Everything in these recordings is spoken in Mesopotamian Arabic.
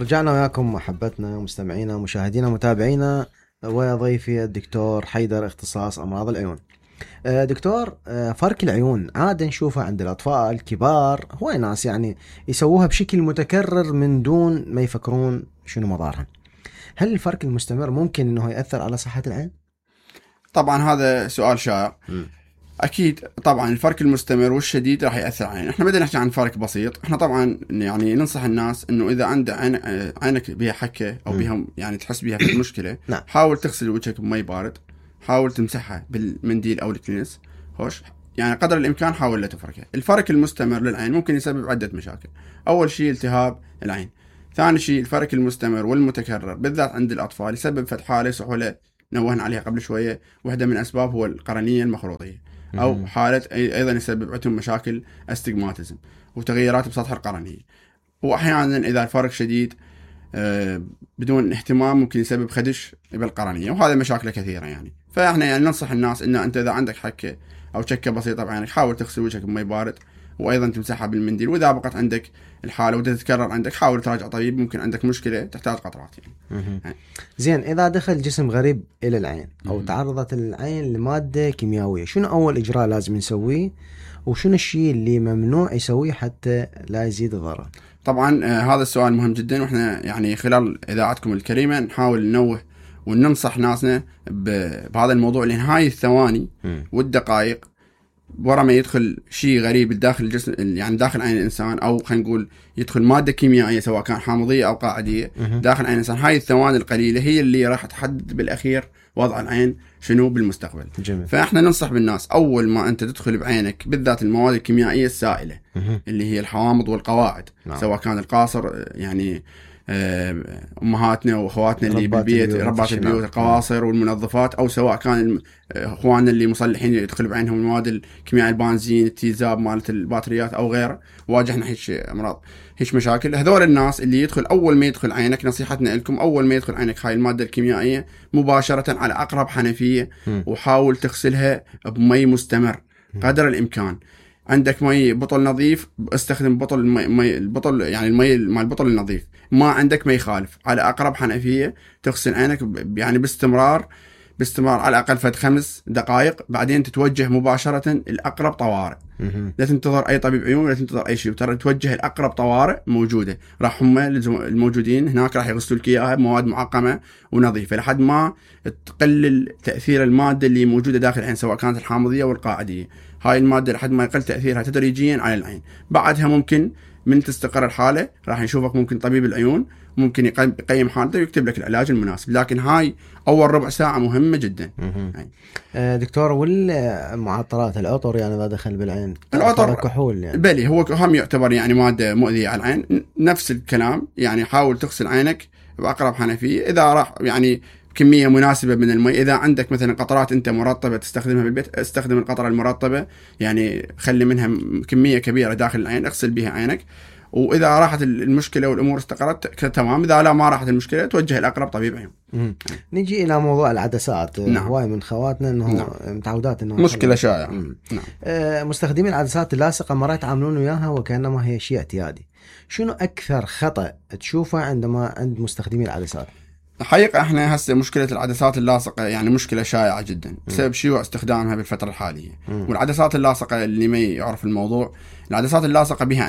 رجعنا وياكم محبتنا ومستمعينا ومشاهدينا ومتابعينا، وضيفي الدكتور حيدر اختصاص أمراض العيون. دكتور، فرق العيون عادة نشوفها عند الأطفال الكبار، هو ناس يعني يسووها بشكل متكرر من دون ما يفكرون شنو مضارها. هل الفرق المستمر ممكن أنه يأثر على صحة العين؟ طبعا هذا سؤال شائع. أكيد طبعا الفرق المستمر والشديد راح يأثر علينا. احنا بدنا نحكي عن فرق بسيط. احنا طبعا يعني ننصح الناس انه اذا عندك عينك بها حكة او بها يعني تحس بها في المشكلة، حاول تغسل وجهك بمي بارد، حاول تمسحها بالمنديل او الكنس، هوش يعني قدر الامكان حاول لا تفركها. الفرق المستمر للعين ممكن يسبب عدة مشاكل. اول شيء التهاب العين، ثاني شيء الفرق المستمر والمتكرر بالذات عند الاطفال يسبب فتح حالة سحولة نوهنا عليها قبل شوية، واحدة من اسباب هو القرنية المخروطية، أو حالة أيضا يسبب عندهم مشاكل استجماتيزم وتغيرات بسطح القرنية. وأحيانا إذا الفرق شديد بدون اهتمام ممكن يسبب خدش بالقرنية، وهذا مشاكل كثيرة يعني. فإحنا يعني ننصح الناس إن أنت إذا عندك حكة أو شكة بسيطة بعينك حاول تغسل وجهك بمي بارد، وأيضا تمسحها بالمنديل. وإذا بقت عندك الحالة وده تتكرر عندك حاول تراجع طبيب، ممكن عندك مشكلة تحتاج قطرات يعني. زين، إذا دخل جسم غريب إلى العين أو تعرضت العين لمادة كيميائية، شنو أول إجراء لازم نسويه وشنو الشيء اللي ممنوع يسويه حتى لا يزيد الضرر؟ طبعا هذا السؤال مهم جدا، وإحنا يعني خلال إذاعتكم الكريمة نحاول ننوه وننصح ناسنا بهذا الموضوع، لأن هاي الثواني والدقائق ورا ما يدخل شيء غريب داخل الجسم يعني داخل عين الإنسان، أو خلينا نقول يدخل مادة كيميائية سواء كان حامضية أو قاعدية داخل عين الإنسان، هاي الثواني القليلة هي اللي راح تحدد بالأخير وضع العين شنو بالمستقبل. جميل. فإحنا ننصح بالناس أول ما أنت تدخل بعينك بالذات المواد الكيميائية السائلة اللي هي الحوامض والقواعد، سواء كان القاصر يعني أمهاتنا وأخواتنا اللي بالبيت ربات البيوت القواصر والمنظفات، أو سواء كان إخواننا اللي مصلحين يدخل بعينهم المواد الكيميائية البنزين التيزاب مالت البطاريات أو غيره، واجهنا هيك أمراض هيك مشاكل. هذول الناس اللي يدخل أول ما يدخل عينك، نصيحتنا لكم أول ما يدخل عينك هاي المادة الكيميائية مباشرة على أقرب حنفية وحاول تغسلها بمي مستمر قدر الإمكان. عندك مي بطل نظيف استخدم بطل مي البطل يعني المي مال البطل النظيف. ما عندك مي خالف على أقرب حنفية تغسل عينك يعني باستمرار على الأقل فد 5 دقائق، بعدين تتوجه مباشرة الأقرب طوارئ. لا تنتظر أي طبيب عيون، لا تنتظر أي شيء، ترى توجه الأقرب طوارئ موجودة، راح هم الموجودين هناك راح يغسلوا لك إياها بمواد معقمة ونظيفة لحد ما تقلل تأثير المادة اللي موجودة داخل العين سواء كانت الحامضية والقاعدية. هاي المادة لحد ما يقل تأثيرها تدريجيا على العين. بعدها ممكن من تستقر الحالة راح يشوفك ممكن طبيب العيون، ممكن يقيم حالته ويكتب لك العلاج المناسب، لكن هاي أول ربع ساعة مهمة جدا. دكتور، والمعطرات العطر يعني إذا دخل بالعين العطر كحول يعني بلي هو هم يعتبر يعني مادة مؤذية على العين، نفس الكلام يعني. حاول تغسل عينك بأقرب حنفية، إذا راح يعني كمية مناسبة من الماء. إذا عندك مثلا قطرات أنت مرطبة تستخدمها بالبيت، استخدم القطرة المرطبة يعني خلي منها كمية كبيرة داخل العين اغسل بها عينك. وإذا راحت المشكلة والأمور استقرت تمام، إذا لا ما راحت المشكلة توجه الأقرب طبيب عيون. نجي إلى موضوع العدسات. هواي من خواتنا إنه متعودات إنه مشكلة شائعة. مستخدمين العدسات اللاصقة مرات يتعاملون وياها وكأنما هي شيء اعتيادي. شنو أكثر خطأ تشوفه عندما عند مستخدمين العدسات؟ حقيقة احنا هسه مشكلة العدسات اللاصقة يعني مشكلة شائعة جدا بسبب شيوع استخدامها بالفترة الحالية. والعدسات اللاصقة اللي ما يعرف الموضوع، العدسات اللاصقة بها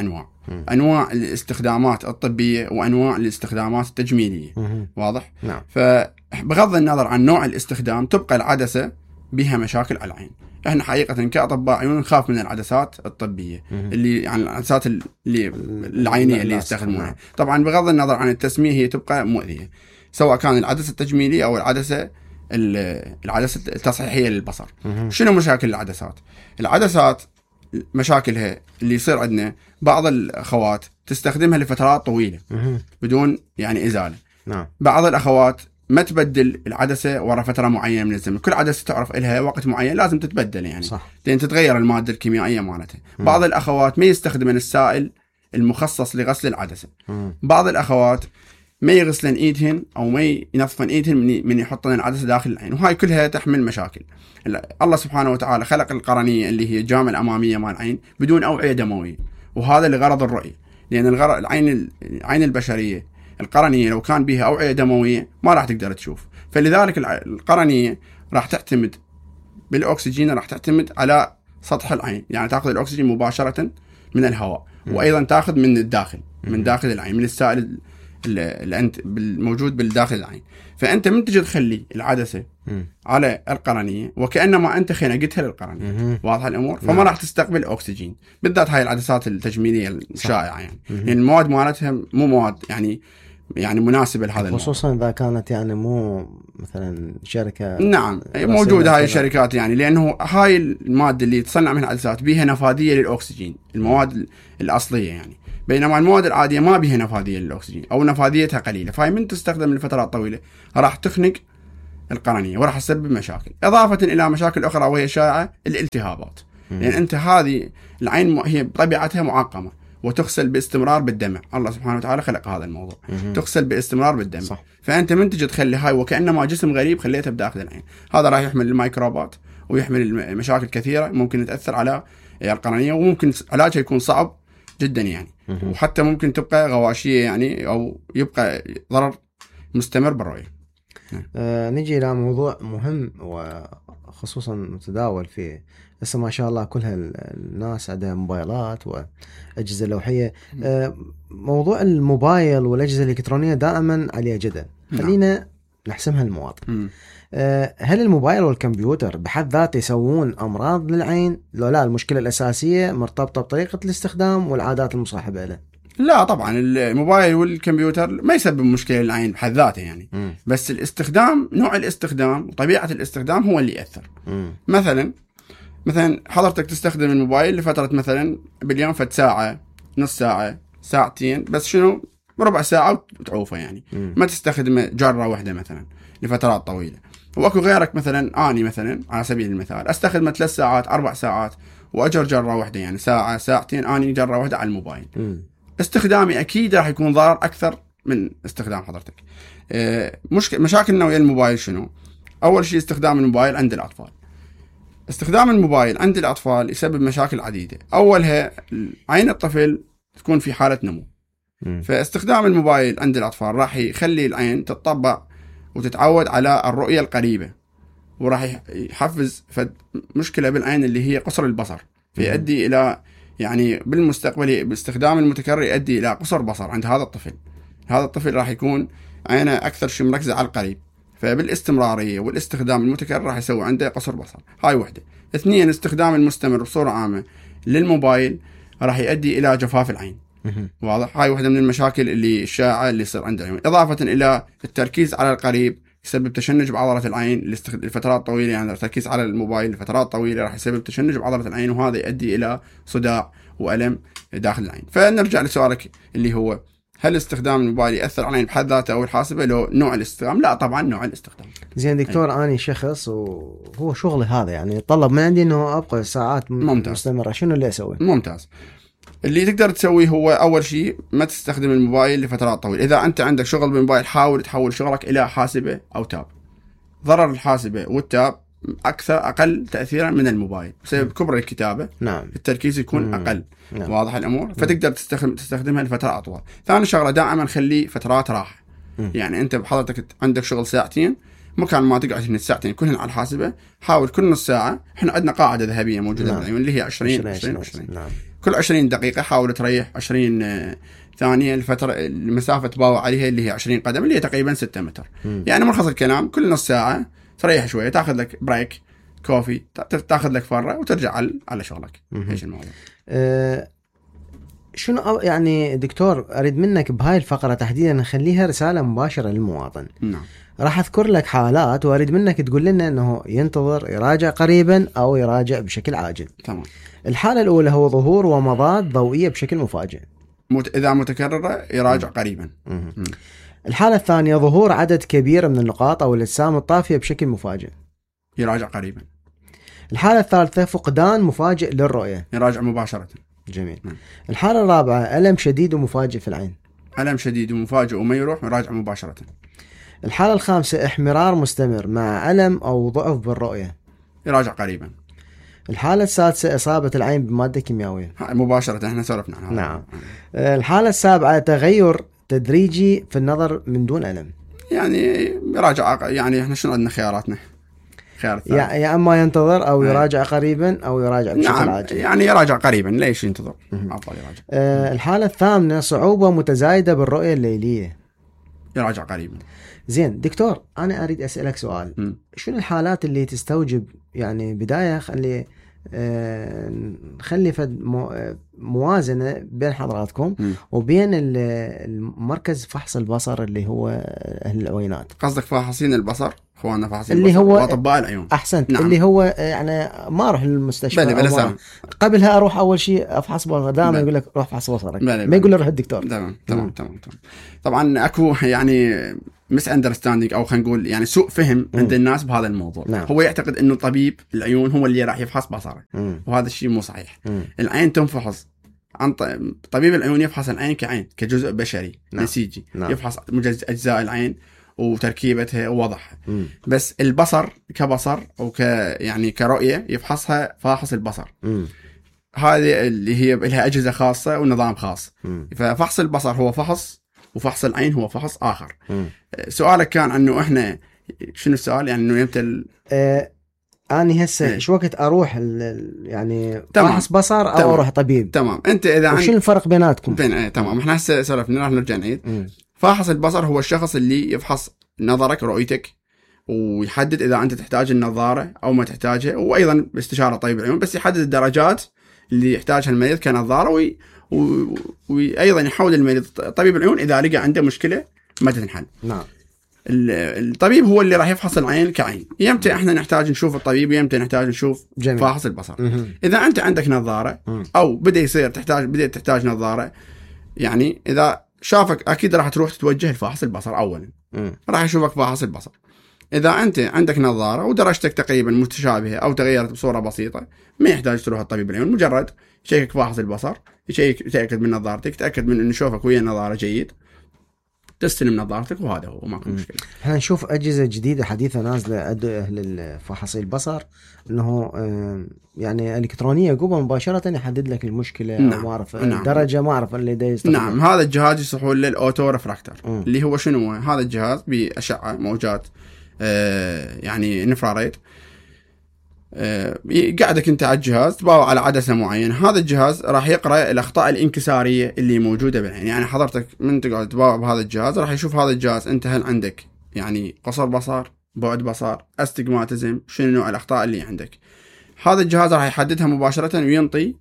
أنواع الاستخدامات الطبية وأنواع الاستخدامات التجميلية. واضح؟ نعم. فبغض النظر عن نوع الاستخدام تبقى العدسة بها مشاكل على العين. احنا حقيقة كأطباء عيون نخاف من العدسات الطبية اللي يعني العدسات اللي العينية اللي يستخدمونها. طبعا بغض النظر عن التسمية هي تبقى مؤذية، سواء كان العدسة التجميلية أو العدسة التصحيحية للبصر. شنو مشاكل العدسات؟ العدسات مشاكلها اللي يصير عندنا بعض الأخوات تستخدمها لفترات طويلة بدون يعني إزالة. بعض الأخوات ما تبدل العدسة ورا فترة معينة من الزمن، كل عدسة تعرف إلها وقت معين لازم تتبدل يعني لأن تتغير المادة الكيميائية مالتها. بعض الأخوات ما يستخدمن السائل المخصص لغسل العدسة. بعض الأخوات ما يغسلن ايدهن او ما ينظفن ايدهن من يحطن العدسة داخل العين، وهاي كلها تحمل مشاكل. الله سبحانه وتعالى خلق القرنية اللي هي الجامعة الأمامية مال العين بدون أوعية دموية، وهذا لغرض الرؤية، لأن العين البشرية القرنية لو كان بها أوعية دموية ما راح تقدر تشوف. فلذلك القرنية راح تعتمد بالأكسجين، راح تعتمد على سطح العين، يعني تأخذ الأكسجين مباشرة من الهواء، وأيضا تأخذ من الداخل، من داخل العين، من السائل الموجود بالداخل العين. فأنت من تجي تخلي العدسة على القرنية وكأنما أنت خنقتها للقرنية، واضح الأمور؟ فما راح تستقبل أكسجين، بالذات هاي العدسات التجميلية الشائعة يعني المواد مالتها مو مواد يعني مناسبة لهذا الموضوع، خصوصا إذا كانت يعني مو مثلا شركة. نعم موجودة هاي الشركات يعني، لأنه هاي المادة اللي تصنع منها العدسات بيها نفاذية للأكسجين، المواد الأصلية يعني، بينما المواد العادية ما بيها نفاذية للأكسجين أو نفاذيتها قليلة، فهي من تستخدم لفترات طويلة راح تخنق القرنية وراح تسبب مشاكل، إضافة إلى مشاكل أخرى وهي شائعة الالتهابات. لأن أنت هذه العين هي بطبيعتها معقمة وتغسل باستمرار بالدمع، الله سبحانه وتعالى خلق هذا الموضوع، تغسل باستمرار بالدمع. صح. فأنت من تجي تخلي هاي وكأنما جسم غريب خليته بداخل العين، هذا راح يحمل الميكروبات ويحمل مشاكل كثيرة ممكن تأثر على القرنية، وممكن علاجها يكون صعب جدا يعني، وحتى ممكن تبقى غواشية يعني، أو يبقى ضرر مستمر بالرؤية. نجي إلى موضوع مهم وخصوصا متداول فيه هسه ما شاء الله، كل الناس عندها موبايلات وأجهزة لوحية. موضوع الموبايل والأجهزة الإلكترونية دائما عليها جدل، خلينا نحسمها المواطن. هل الموبايل والكمبيوتر بحد ذاته يسوون أمراض للعين؟ لو لا، المشكلة الأساسية مرتبطة بطريقة الاستخدام والعادات المصاحبة له. لا طبعا الموبايل والكمبيوتر ما يسبب مشكلة للعين بحد ذاته يعني، بس الاستخدام، نوع الاستخدام وطبيعة الاستخدام هو اللي يأثر. مثلا حضرتك تستخدم الموبايل لفترة مثلا باليوم فد ساعة، نص ساعة، ساعتين، بس شنو ربع ساعة وتعوفه يعني، ما تستخدمه جرة واحدة مثلا لفترات طويلة. واكو غيرك مثلا، اني مثلا على سبيل المثال استخدمه 3 ساعات 4 ساعات واجر جرة واحدة يعني ساعة ساعتين، اني جرة واحدة على الموبايل. استخدامي اكيد راح يكون ضرر اكثر من استخدام حضرتك. مشاكلنا ويا الموبايل شنو؟ اول شيء استخدام الموبايل عند الاطفال. استخدام الموبايل عند الاطفال يسبب مشاكل عديدة، اولها عين الطفل تكون في حالة نمو. فاستخدام الموبايل عند الاطفال راح يخلي العين تتطبع وتتعود على الرؤية القريبة، وراح يحفز مشكلة بالعين اللي هي قصر البصر، فيؤدي الى يعني بالمستقبل باستخدام المتكرر يؤدي الى قصر بصر عند هذا الطفل. هذا الطفل راح يكون عينه اكثر شيء مركزة على القريب، فبالاستمرارية والاستخدام المتكرر راح يسوي عنده قصر بصر. هاي وحدة. 2 استخدام المستمر بصورة عامة للموبايل راح يؤدي الى جفاف العين. واضح؟ هاي واحدة من المشاكل اللي الشائعة اللي يصير عند العيون. إضافة إلى التركيز على القريب يسبب تشنج بعضلة العين لفترات طويلة، يعني التركيز على الموبايل لفترات طويلة راح يسبب تشنج بعضلة العين، وهذا يؤدي إلى صداع وألم داخل العين. فنرجع لسؤالك اللي هو هل استخدام الموبايل يأثر على العين بحد ذاته أو الحاسبة؟ لو نوع الاستخدام، لا طبعا نوع الاستخدام. زين دكتور، أنا شخص وهو شغلي هذا يعني طلب من عندي إنه أبقى ساعات مستمرة، شنو اللي أسوي؟ ممتاز. اللي تقدر تسويه هو أول شيء ما تستخدم الموبايل لفترات طويلة. إذا أنت عندك شغل بالموبايل حاول تحول شغلك إلى حاسبة أو تاب. ضرر الحاسبة والتاب أقل تأثيرا من الموبايل بسبب كبر الكتابة. نعم. التركيز يكون أقل. نعم. واضح الأمور؟ فتقدر تستخدمها لفترة أطول. ثاني شغلة دائما خلي فترات راحة. يعني أنت بحضرتك عندك شغل ساعتين، مكان ما تقعد من الساعتين كلهن على الحاسبة، حاول كل نص ساعة. إحنا عندنا قاعدة ذهبية موجودة بالعيون اللي هي 20. نعم. كل 20 دقيقة حاول تريح 20 ثانية الفترة المسافة تباوع عليها اللي هي 20 قدم اللي هي تقريبا 6 متر. يعني ملخص الكلام كل نص ساعة تريح شوية، تاخذ لك بريك كوفي، تاخذ لك فرة وترجع على شغلك. ايش الموضوع؟ شنو يعني دكتور أريد منك بهاي الفقرة تحديدا نخليها رسالة مباشرة للمواطن. نعم. راح أذكر لك حالات وأريد منك تقول لنا أنه ينتظر يراجع قريبا أو يراجع بشكل عاجل. تمام. الحالة الأولى هو ظهور ومضات ضوئية بشكل مفاجئ، إذا متكررة يراجع قريبا. الحالة الثانية ظهور عدد كبير من النقاط أو الأجسام الطافية بشكل مفاجئ، يراجع قريبا. الحالة الثالثة فقدان مفاجئ للرؤية، يراجع مباشرة. جميل. الحالة الرابعة ألم شديد ومفاجئ في العين، ألم شديد ومفاجئ وما يروح، يراجع مباشرة. الحالة الخامسة احمرار مستمر مع ألم أو ضعف بالرؤية، يراجع قريبا. الحالة السادسة إصابة العين بمادة كيميائية، مباشرة. احنا سولفنا عنها. نعم. الحالة السابعة تغير تدريجي في النظر من دون ألم. يعني يراجع، يعني احنا شنو عندنا خياراتنا؟ خيار الثالث يا اما ينتظر او يراجع قريبا او يراجع بشكل عاجل. يعني يراجع قريبا، ليش ينتظر؟ افضل يراجع. الحالة الثامنة صعوبة متزايدة بالرؤية الليلية. يراجع قريبا. زين دكتور، انا اريد اسالك سؤال. شنو الحالات اللي تستوجب يعني بداية نخلي موازنة بين حضراتكم وبين المركز فحص البصر اللي هو أهل العوينات؟ قصدك فاحصين البصر، اخواننا فاحصين اللي البصر هو واطباء العيون. احسنت. نعم. اللي هو يعني ما اروح للمستشفى بلى قبلها اروح اول شيء افحص بصر، دائما يقول لك روح فحص بصرك، ما يقول لي روح الدكتور. تمام. طبعا اكو يعني مس اندرستاندينج او خلينا نقول يعني سوء فهم عند الناس بهذا الموضوع. نعم. هو يعتقد انه طبيب العيون هو اللي راح يفحص بصره، وهذا الشيء مو صحيح. العين تنفحص عن طبيب العيون، يفحص العين كعين كجزء بشري. نعم. نسيجي. نعم. يفحص اجزاء العين وتركيبتها ووضعها. بس البصر كبصر او يعني كرؤيه يفحصها فاحص البصر. هذه اللي هي لها اجهزه خاصه ونظام خاص. ففحص البصر هو فحص، وفحص العين هو فحص اخر. سؤالك كان انه احنا شنو السؤال؟ يعني انه يمتى اني هسه ايش وقت اروح يعني فحص بصر او تمام. اروح طبيب؟ تمام. انت اذا وشنو الفرق بيناتكم؟ تمام. احنا هسه سولفنا، راح نرجع نعيد. فاحص البصر هو الشخص اللي يفحص نظرك، رؤيتك، ويحدد اذا انت تحتاج النظاره او ما تحتاجها، وايضا باستشاره طبيب العيون بس يحدد الدرجات اللي يحتاجها المريض كنظاره، وايضا يحول المريض طبيب العيون اذا لقى عنده مشكله ما تنحل. نعم. الطبيب هو اللي راح يفحص العين كعين. يمتى احنا نحتاج نشوف الطبيب، يمتى نحتاج نشوف فاحص البصر. اذا انت عندك نظاره او بدات تحتاج نظاره، يعني اذا شافك اكيد راح تروح تتوجه لفاحص البصر اولا. راح يشوفك فاحص البصر. اذا انت عندك نظاره ودرجتك تقريبا متشابهه او تغيرت بصوره بسيطه، ما يحتاج تروح لطبيب العيون، مجرد يشيكك فاحص البصر، يتاكد من نظارتك، يتاكد من انه شوفك ويا النظاره جيد، تستلم نظارتك، وهذا هو ماكو مشكله. احنا نشوف اجهزه جديده حديثه نازله اهل فحص البصر، انه يعني الكترونيه قبل مباشره يحدد لك المشكله. نعم. ما اعرف الدرجه، ما اعرف اللي دا يستخدم. نعم. هذا الجهاز يصحون له الاوتو ريفراكتور، اللي هو شنو؟ هذا الجهاز باشعه موجات يعني انفراريد، قاعدك انت على الجهاز تباوع على عدسه معينه. هذا الجهاز راح يقرا الاخطاء الانكساريه اللي موجوده بالعين. يعني حضرتك من تقعد تباوع بهذا الجهاز راح يشوف هذا الجهاز انت هل عندك يعني قصر بصر، بعد بصر، استجماتيزم، شنو نوع الاخطاء اللي عندك. هذا الجهاز راح يحددها مباشره وينطي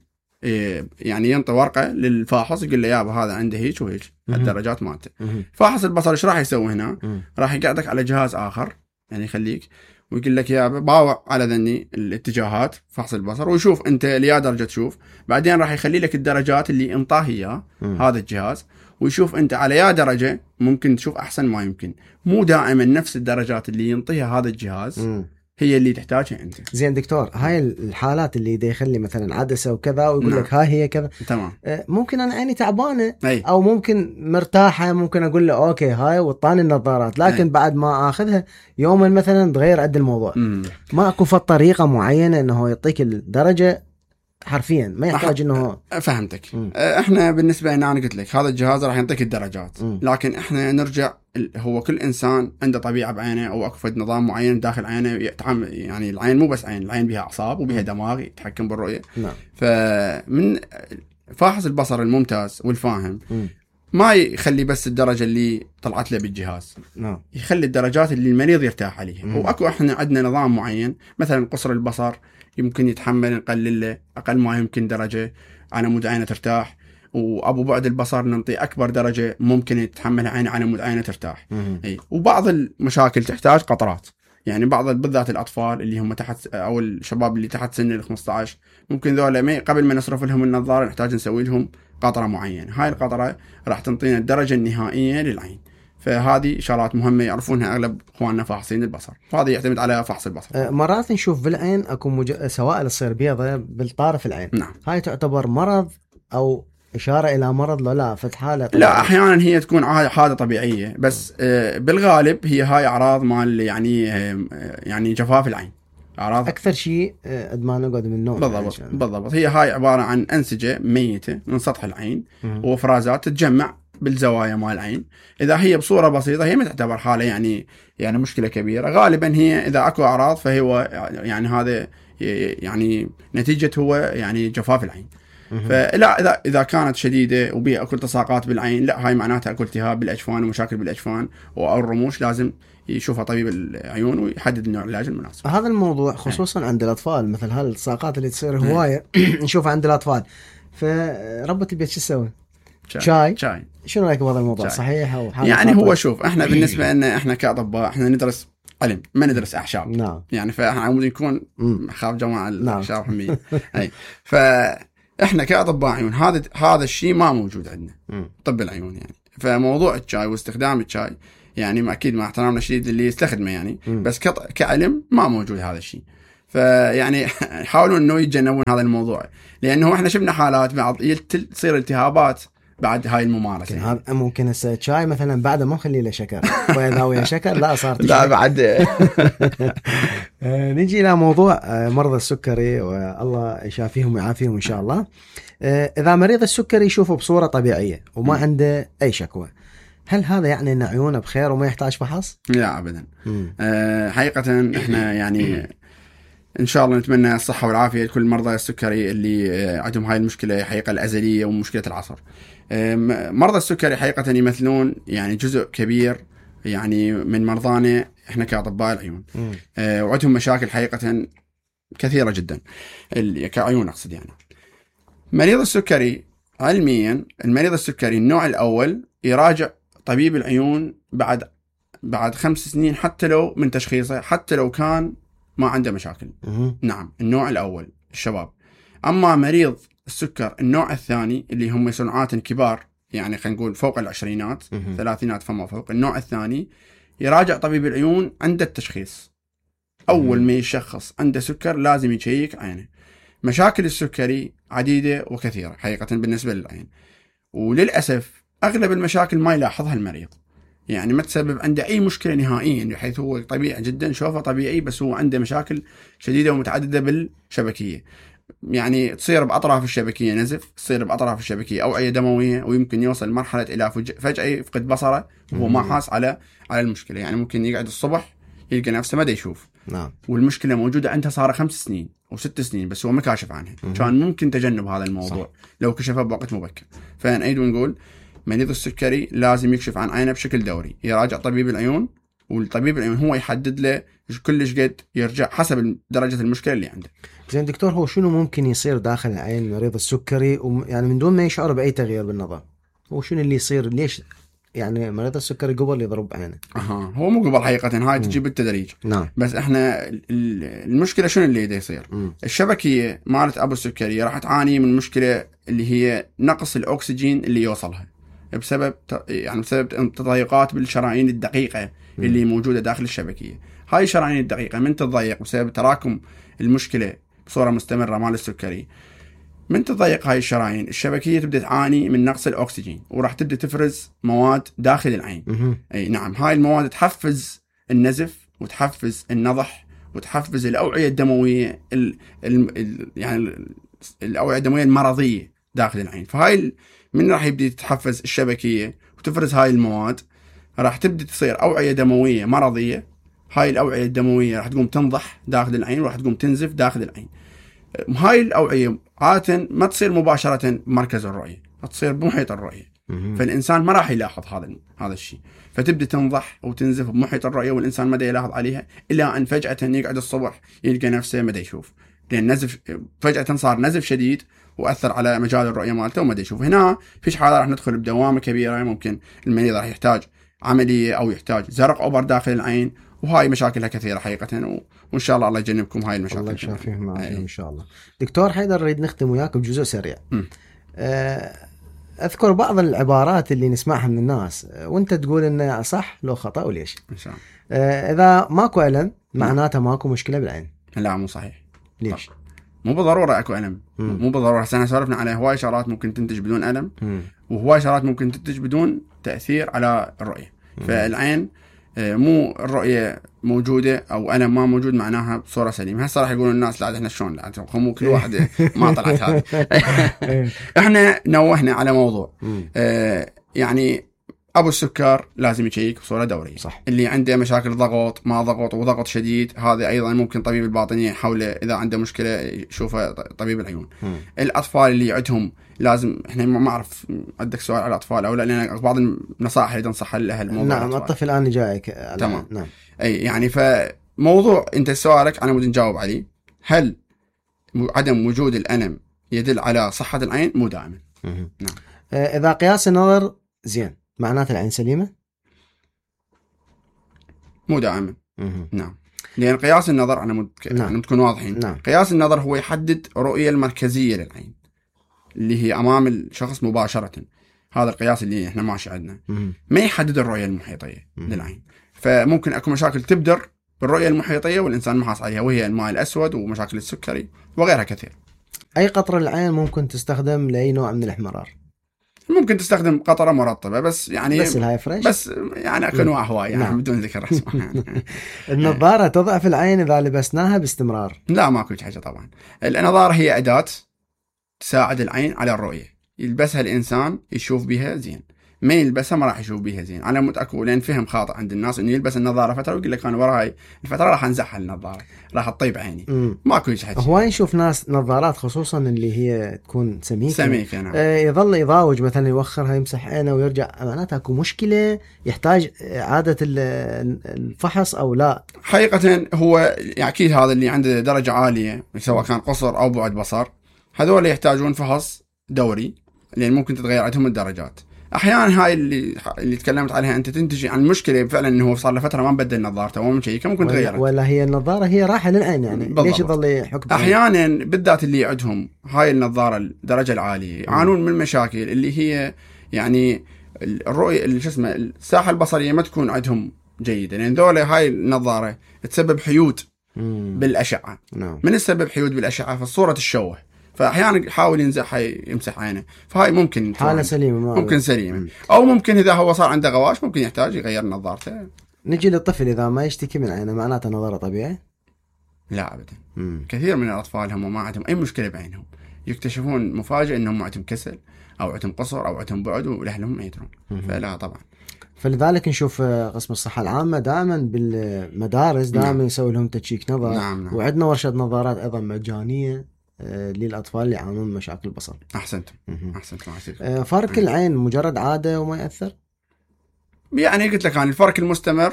يعني ينطي ورقه للفاحص يقول له يابا هذا عنده هيك وهيك الدرجات مالته. فاحص البصر ايش راح يسوي هنا؟ راح يقعدك على جهاز اخر، يعني يخليك ويقول لك يا باوع على ذني الاتجاهات فحص البصر، ويشوف انت ليا درجه تشوف. بعدين راح يخلي لك الدرجات اللي انطاه اياه هذا الجهاز، ويشوف انت على يا درجه ممكن تشوف احسن ما يمكن. مو دائما نفس الدرجات اللي ينطيها هذا الجهاز هي اللي تحتاجها انت. زين دكتور، هاي الحالات اللي دا يخلي مثلا عدسه وكذا ويقول لك هاي هي كذا، تمام. ممكن انا عيني تعبانه او ممكن مرتاحه، ممكن اقول له اوكي هاي وطاني النظارات، لكن بعد ما اخذها يوما مثلا تغير عد الموضوع. ما اكو طريقه معينه انه يعطيك الدرجه حرفيا، ما يحتاج انه. فهمتك. احنا بالنسبه لنا انا قلت لك هذا الجهاز راح يعطيك الدرجات، لكن احنا نرجع، هو كل انسان عنده طبيعه بعينه او اكو نظام معين داخل عينه يتعامل. يعني العين مو بس عين، العين بها اعصاب وبها دماغ يتحكم بالرؤيه. نعم. فمن فاحص البصر الممتاز والفاهم ما يخلي بس الدرجه اللي طلعت له بالجهاز، نعم، يخلي الدرجات اللي المريض يرتاح عليها. واكو احنا عندنا نظام معين، مثلا قصر البصر يمكن يتحمل نقلل له اقل ما يمكن درجه على مود عينه ترتاح، وابو بعد البصر ننطي اكبر درجه ممكن يتحملها عينه على مود عينه ترتاح. وبعض المشاكل تحتاج قطرات، يعني بعض بالذات الاطفال اللي هم تحت او الشباب اللي تحت سن ال 15 ممكن ذولا قبل ما نصرف لهم النظاره نحتاج نسوي لهم قطره معينه. هاي القطره راح تنطينا الدرجه النهائيه للعين. فهذه شغلات مهمه يعرفونها اغلب اخواننا فاحصين البصر، وهذا يعتمد على فحص البصر. مرات نشوف بالعين اكو سوائل تصير بيضة بالطارف العين. نعم. هاي تعتبر مرض او اشاره الى مرض؟ لا فتحاله طبيعية. لا، احيانا هي تكون حاله طبيعيه، بس بالغالب هي هاي اعراض مال يعني جفاف العين. اعراض اكثر شيء قد ما نقعد من النوم. بالضبط. هي هاي عباره عن انسجه ميته من سطح العين وافرازات تتجمع بالزوايا مال العين. اذا هي بصوره بسيطه هي ما تعتبر حاله يعني مشكله كبيره. غالبا هي اذا اكو اعراض فهو يعني هذا يعني نتيجه هو يعني جفاف العين. فلا اذا كانت شديده وبيها اكو التصاقات بالعين، لا هاي معناتها اكو التهاب بالاجفان ومشاكل بالاجفان او الرموش، لازم يشوفها طبيب العيون ويحدد نوع العلاج المناسب. هذا الموضوع خصوصا عند الاطفال، مثل هالالتصاقات اللي تصير هوايه نشوفها عند الاطفال، فربة البيت شو تسوي؟ شاي. شنو رايك بهذا الموضوع؟ صحيح او يعني هو شوف، احنا بالنسبه لنا احنا كاطباء احنا ندرس علم، ما ندرس اعشاب. نعم. يعني فاحنا عمود نكون خاف جماعه الاعشاب حميه. اي فاحنا كاطباء عيون هذا الشيء ما موجود عندنا طب العيون. يعني فموضوع الشاي واستخدام الشاي يعني ما اكيد مع احترامنا الشديد اللي يستخدمه يعني بس كعلم ما موجود هذا الشيء. فيعني يحاولون انه يتجنبون هذا الموضوع، لانه احنا شفنا حالات بعض تصير التهابات بعد هاي الممارسه. هذا ممكن هسه شاي مثلا بعد ما نخلي له شكر واذا ويا شكر لا صارت لا بعد. نجي الى موضوع مرضى السكري والله يشافيهم ويعافيهم ان شاء الله. اذا مريض السكري يشوفه بصوره طبيعيه وما عنده اي شكوى، هل هذا يعني ان عيونه بخير وما يحتاج فحص؟ لا ابدا. حقيقه احنا يعني ان شاء الله نتمنى الصحه والعافيه لكل مرضى السكري اللي عندهم هاي المشكله حقيقه الازليه ومشكله العصر. مرضى السكري حقيقه يمثلون يعني جزء كبير يعني من مرضانا احنا كاطباء العيون. وعندهم مشاكل حقيقه كثيره جدا كعيون اقصد. يعني مريض السكري علميا، المريض السكري النوع الاول يراجع طبيب العيون بعد 5 سنين حتى لو من تشخيصه، حتى لو كان ما عنده مشاكل. نعم النوع الأول الشباب. أما مريض السكر النوع الثاني اللي هم صنعات كبار يعني خلينا نقول فوق العشرينات 30 فما فوق، النوع الثاني يراجع طبيب العيون عند التشخيص. أول ما يشخص عنده سكر لازم يشيك عينه. مشاكل السكري عديدة وكثيرة حقيقة بالنسبة للعين، وللأسف أغلب المشاكل ما يلاحظها المريض، يعني ما تسبب عنده أي مشكلة نهائيا، بحيث هو طبيعي جدا شوفه طبيعي، بس هو عنده مشاكل شديدة ومتعددة بالشبكية. يعني تصير بأطراف الشبكية نزف، تصير بأطراف الشبكية أوعية دموية، ويمكن يوصل مرحلة إلى فجأة يفقد بصره وهو ما حاس على المشكلة. يعني ممكن يقعد الصبح يلقى نفسه ما دا يشوف. نعم. والمشكلة موجودة عنده صار 5 سنين و6 سنين بس هو ما كاشف عنها. كان ممكن تجنب هذا الموضوع. صح. لو كشفه بوقت مبكر. فنعيد ونقول مريض السكري لازم يكشف عن عينه بشكل دوري، يراجع طبيب العيون، والطبيب العيون هو يحدد له كلش قد يرجع حسب درجة المشكلة اللي عنده. زين دكتور، هو شنو ممكن يصير داخل عين مريض السكري يعني من دون ما يشعر بأي تغيير بالنظر؟ هو شنو اللي يصير؟ ليش يعني مريض السكري قبل يضرب عينه؟ هو مو قبل حقيقة، هاي تجي بالتدريج. نعم. بس احنا المشكلة شنو اللي دا يصير؟ الشبكية مالت أبو السكري راح تعاني من مشكلة اللي هي نقص الأكسجين اللي يوصلها بسبب تضيقات بالشرايين الدقيقة اللي موجودة داخل الشبكية. هاي الشرايين الدقيقة من تضيق بسبب تراكم المشكلة بصورة مستمرة مال السكري، من تضيق هاي الشرايين الشبكية تبدأ تعاني من نقص الأكسجين، وراح تبدأ تفرز مواد داخل العين. أي نعم، هاي المواد تحفز النزف وتحفز النضح وتحفز الأوعية الدموية يعني الأوعية الدموية المرضية داخل العين. فهاي من راح يبدأ تتحفز الشبكية وتفرز هاي المواد، راح تبدأ تصير أوعية دموية مرضية. هاي الأوعية الدموية راح تقوم تنضح داخل العين وراح تقوم تنزف داخل العين. هاي الأوعية عادة ما تصير مباشرة بمركز الرؤية، تصير بمحيط الرؤية. فالإنسان ما راح يلاحظ هذا الشيء، فتبدأ تنضح وتنزف بمحيط الرؤية والإنسان ما دا يلاحظ عليها، إلا أن فجأة يقعد الصبح يلقى نفسه ما دا يشوف، لأن نزف فجأة صار نزف شديد وأثر على مجال الرؤية مالته وما دا يشوف. هنا فيش حالة راح ندخل بدوامة كبيرة، ممكن المريض راح يحتاج عملية أو يحتاج زرق أوبر داخل العين، وهاي مشاكلها كثيرة حقيقة. وإن شاء الله الله يجنبكم هاي المشاكل. الله يشافيهم معكم إن شاء الله. دكتور حيدر، نريد نختم وياك بجزء سريع. أذكر بعض العبارات اللي نسمعها من الناس وأنت تقول إنه صح لو خطأ وليش. إن شاء الله. إذا ماكو ألم معناته ماكو مشكلة بالعين. لا مو صحيح. ليش؟ مو بالضرورة أكو ألم. مو بالضرورة. احنا سولفنا على هواي شغلات ممكن تنتج بدون ألم، وهواي شغلات ممكن تنتج بدون تأثير على الرؤية. فالعين مو الرؤية موجودة أو ألم ما موجود معناها بصورة سليمة. هسه راح يقولون الناس لا احنا شلون لا مو كل واحد ما طلعت هذه. احنا نوهنا على موضوع يعني ابو السكر لازم يشيك بصوره دوريه. صح. اللي عنده مشاكل ضغط ما ضغط وضغط شديد، هذا ايضا ممكن طبيب الباطنيه يحاوله اذا عنده مشكله يشوفه طبيب العيون. الاطفال اللي عندهم لازم، احنا ما اعرف عندك سؤال على الاطفال او لا، لان بعض النصائح اللي تنصحها لاهل. نعم الطفل انا جايك. تمام. نعم. اي يعني فموضوع انت سؤالك انا بدي نجاوب عليه، هل عدم وجود الالم يدل على صحه العين؟ مو دائما. نعم. اذا قياس النظر زين معناته العين سليمه؟ مو دائما. نعم. لان قياس النظر انا نعم. نكون واضحين. نعم. قياس النظر هو يحدد الرؤيه المركزيه للعين اللي هي امام الشخص مباشره. هذا القياس اللي احنا ماشي عندنا. ما يحدد الرؤيه المحيطيه للعين. فممكن اكو مشاكل تبدر بالرؤيه المحيطيه والانسان ما حاصل عليها، وهي الماء الاسود ومشاكل السكري وغيرها كثير. اي قطره العين ممكن تستخدم لاي نوع من الاحمرار؟ ممكن تستخدم قطره مرطبه بس يعني بس الهاي فريش، بس يعني اكو انواع هواي يعني. نعم. بدون ذكر اسمها يعني. النظاره تضعف العين اذا لبسناها باستمرار؟ لا ماكو حاجه طبعا. النظاره هي اداه تساعد العين على الرؤيه، يلبسها الانسان يشوف بها زين، ما يلبسها ما راح يشوف بها زين. انا متاكد لان فهم خاطئ عند الناس انه يلبس النظاره فتره ويقول لك انا وراي الفتره راح انزعها النظاره، راح تطيب عيني. ماكو شيء. هواي نشوف ناس نظارات خصوصا اللي هي تكون سميكه. نعم. يظل يضاوج مثلا يوخرها يمسح عينه ويرجع، معناتها اكو مشكله يحتاج اعاده الفحص او لا؟ حقيقه هو اكيد هذا اللي عنده درجه عاليه سواء كان قصر او بعد بصر، هذول يحتاجون فحص دوري لان ممكن تتغير عندهم الدرجات. احيانا هاي اللي تكلمت عليها انت تنتج عن مشكله فعلا انه هو صار له فتره ما بدل نظارته ومن شيء ممكن تغير، ولا هي النظاره هي راحه للعين يعني بالضبط. ليش يظل يحك؟ احيانا بالذات اللي عندهم هاي النظاره الدرجه العاليه يعانون من مشاكل اللي هي يعني الرؤيه شو اسمه الساحه البصريه ما تكون عندهم جيده، لان ذولا هاي النظاره تسبب حيود بالاشعه. من السبب حيود بالاشعه فالصوره تشوه، فاحيانا يحاول يمسح عينه، فهاي ممكن حاله سليمه، ممكن سليمه. او ممكن اذا هو صار عنده غواش ممكن يحتاج يغير نظارته. نجي للطفل اذا ما يشتكي من عينه معناته نظره طبيعي؟ لا ابدا. كثير من الاطفال هم ما عندهم اي مشكله بعينهم، يكتشفون مفاجئ انهم عندهم كسل او عندهم قصر او عندهم بعد واهلهم ما يدرون. فلا طبعا. فلذلك نشوف قسم الصحة العامة دائما بالمدارس دائما يسوي لهم تشيك نظر. نعم. وعندنا ورشة نظارات أيضا مجانية للأطفال اللي يعانون من مشاكل البصر. أحسنتم. فرق العين مجرد عادة وما يأثر؟ يعني قلت لك الفرق المستمر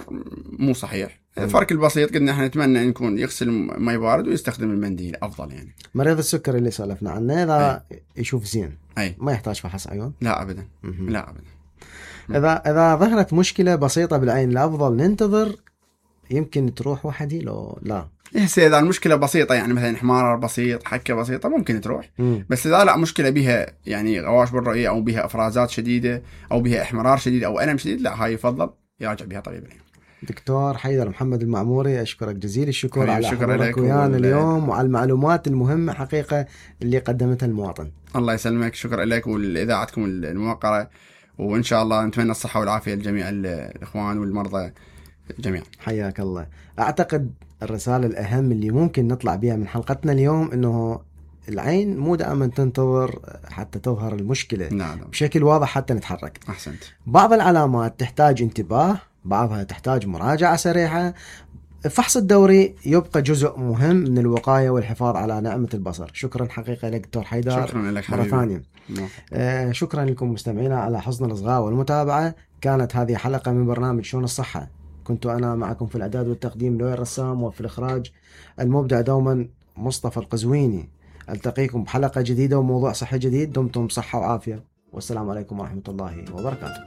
مو صحيح. الفرق البسيط قلنا احنا نتمنى ان يكون يغسل ماء بارد ويستخدم المنديل افضل يعني. مريض السكري اللي سولفنا عنه اذا يشوف زين ما يحتاج فحص عيون؟ لا ابدا. لا ابدا. اذا ظهرت مشكلة بسيطة بالعين الافضل ننتظر يمكن تروح وحدي لو لا؟ اذا المشكله بسيطه يعني مثلا احمرار بسيط حكه بسيطه ممكن تروح. بس اذا لا مشكله بها يعني غواش بالرؤيه او بها افرازات شديده او بها احمرار شديد او الم شديد، لا هاي يفضل يراجع بها طبيب العين. دكتور حيدر محمد المعموري اشكرك جزيل الشكر على حضورك ويانا اليوم وعلى المعلومات المهمه حقيقه اللي قدمتها المواطن. الله يسلمك، شكرا لك ولاذاعتكم الموقره، وان شاء الله نتمنى الصحه والعافيه لجميع الاخوان والمرضى جميعا. حياك الله. اعتقد الرسالة الأهم اللي ممكن نطلع بها من حلقتنا اليوم إنه العين مو دائما تنتظر حتى تظهر المشكلة. نعم. بشكل واضح حتى نتحرك. أحسنت. بعض العلامات تحتاج انتباه، بعضها تحتاج مراجعة سريعة. الفحص الدوري يبقى جزء مهم من الوقاية والحفاظ على نعمة البصر. شكرا حقيقة لك دكتور حيدر. شكرا لك مرة ثانية. شكرا لكم مستمعينا على حسن الإصغاء والمتابعة. كانت هذه حلقة من برنامج شؤون الصحة، كنت أنا معكم في الإعداد والتقديم لؤي الرسام، وفي الإخراج المبدع دوما مصطفى القزويني. ألتقيكم بحلقة جديدة وموضوع صحي جديد. دمتم بصحة وعافية، والسلام عليكم ورحمة الله وبركاته.